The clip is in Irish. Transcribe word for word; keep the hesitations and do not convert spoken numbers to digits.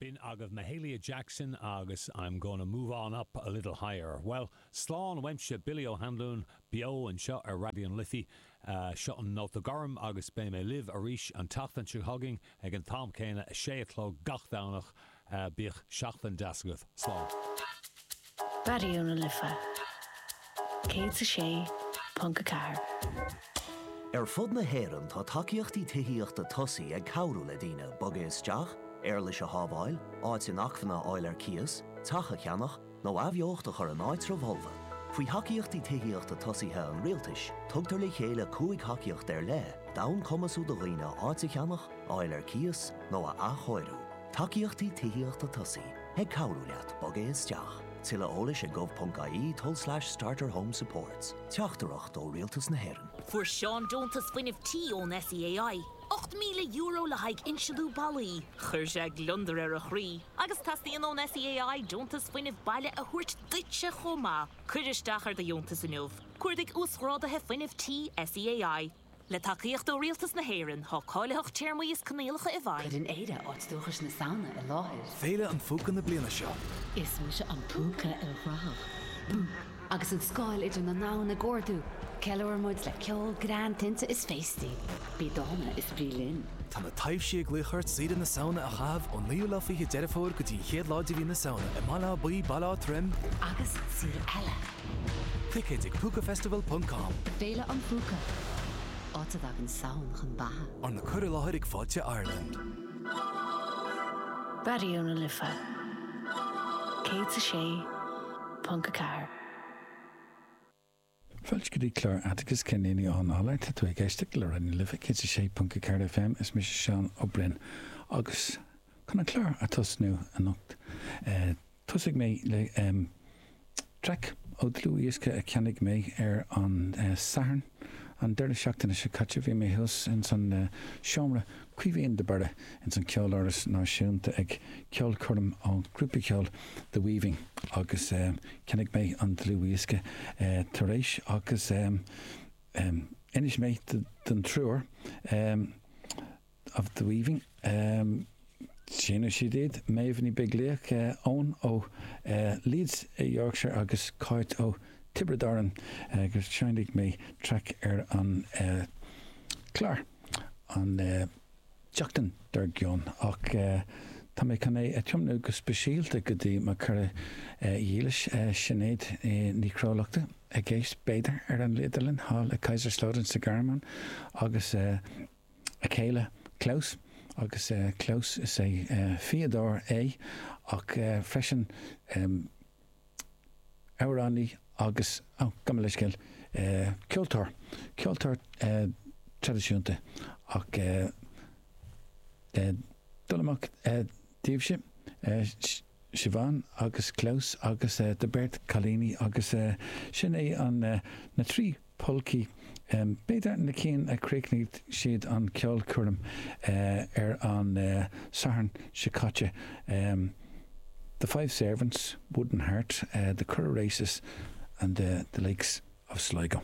B'in agaibh Mahalia Jackson agus I'm gonna move on up a little higher. Well, slán uaimse Billy O'Hanlon beo anseo ar Raidió na Life uh, seo an Nóta Gorm agus beidh mé libh arís an tseachtain seo chugainn ag an t-am céanna a sé a chlog gach Domhnach uh, bíodh seachtain deas agaibh slán. Raidió na Life céad a sé ponc a ceathair. Ar fud na hÉireann tá tacaíochtaí tithíochta tosaigh ag cabhrú le daoine bogadh isteach, éarlais a shábháil, áit inacmhainne a fháil ar cíos, teach a cheannach nó athbheocht a chur in áitreabh folmha. Faoi thacaíochtaí tithíochta tosaithe an rialtais, tugtar le chéile cúig thacaíocht ar leith, d'fhonn cumasú do dhaoine áit a cheannach, a fháil ar cíos nó a athchóiriú. Tacaíochtaí tithíochta tosaigh ag cabhrú leat bogadh isteach. Tuilleadh eolais ag gov.ie tulslais starter home supports. Teachtaireacht ó Rialtas na hÉireann. Fuair Seán deontas fuinnimh tí ón SEAI. Ocht míle euro le haghaidh insealú ballaí, Chuir sé gliondar ar a chroí, agus teastaíonn ón SEAI deontas fuinnimh baile a thabhairt duitse chomh maith. Cuir isteach ar do dheontas inniu. Cuardaigh uasghráduithe fuinnimh tí SEAI. Le tacaíocht ó Rialtas na hÉireann tá cáilitheacht téarmaí is coinníollacha i bhfeidhm. Cuireann Éire áit dúchais na Samhna i láthair. Féile an Phúca na bliana seo. Is mise an púca ilchruthach. Bú! Agus an scáil idir na domhain ag ardú, Ceiliúrann muid le ceol greann tinte is féastaí. Bí dána is bí linn. Tá na taibhsí ag glaoch ort saoire na Samhna a chaitheamh ón naoú lá fiche Deireadh Fómhair go dtí an chéad lá de mhí na Samhna i mBaile Átha Buí, Baile Átha Troim Agus saoire eile. Ticéid ag púcafestival.com Féile an Phúca. Áit a dtagann Samhain chun beatha. Arna cur i láthair ag Fáilte Ireland. Raidió na Life céad a sé ponc a ceathair. Fáilte go dtí clár Atticus Cinnéine á nála tá tú ag éisteacht le Raidió na Life céad a sé ponc a ceathair FM is mise Seán Ó Broin agus chun an clár a thosnú anocht. Uh, Tosóidh mé le um, traic ó dlúthdhiosca a cheannaigh mé ar an uh, Satharn an deireadh seachtaine seo caite bhí mé thuas in san uh, seomra Caoimhín de Barra in san Ceoláras Náisiúnta ag ceolchoirm ón grúpa ceoil The Weaving agus um, cheannaigh mé an dlúthdhiosca uh, tar éis agus um, um, inis mé den triúr um, of The Weaving. Um, Sinna siad iad Méabh Ní Bheaglaoich uh, ón ó uh, Leeds i Yorkshire agus Cáit ó Tiobraid Árann agus seinnfidh mé traic ar an uh, clár an uh, tseachtain dár gcionn ach uh, Tá mé chun é a thiomnú go speisialta go dtí mo chara dhílis Sinéad Ní Chrólachta ag éisteacht b'fhéidir ar an Liaderlin thall i Kaiserslautern sa Ghearmáin agus uh, a chéile Klaus agus uh, Klaus is é uh, fíodóir é ach uh, freisin um, amhránaí agus oh, gabh mo leithscéal uh, ceoltóir ceoltóir uh, traidisiúnta ach uh, uh, dul amach uh, daoibhse uh, Siobhán agus Klaus agus uh, de beirt cailíní agus uh, sin é an uh, na trí polcaí um, b'fhéidir na cinn a chríochnaigh siad an ceolchoirm uh, ar an uh, Satharn seo caite. Um, the Five Servants, Wooden Heart, uh, the Curragh Races and uh, the Lakes of Sligo.